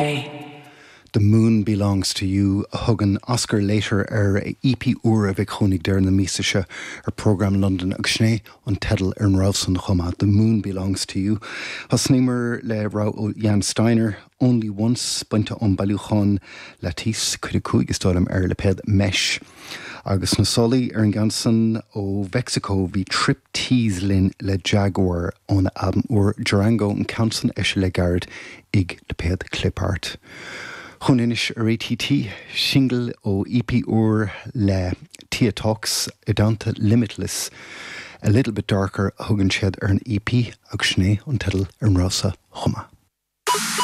pay. The Moon Belongs to You a thugann Oscar Leiter ar a EP úr a bheidh chugainn ag deireadh na míosa seo ar Programme London agus sin é an teideal ar an rogha san chomh maith, The Moon Belongs to You. Thosnaíomar le rogha ó Jan Steiner, Only Once, bainte ón bailiúchán Lattice, cuid 5 is dóigh liom, ar lipéad Mesh. Agus sna sálaí ar an gceann san ó Mheicsiceo bhí Triptease linn le Jaguar óna albam úr Durango, an ceann san eisithe le gairid ag lipéad Clipart. Chugainn anois ar ATT, singil ó EP úr le Tia Talks i dteannta Limitless, A Little Bit Darker a thugann siad ar an EP agus sin é an teideal ar an rogha seo chomh maith.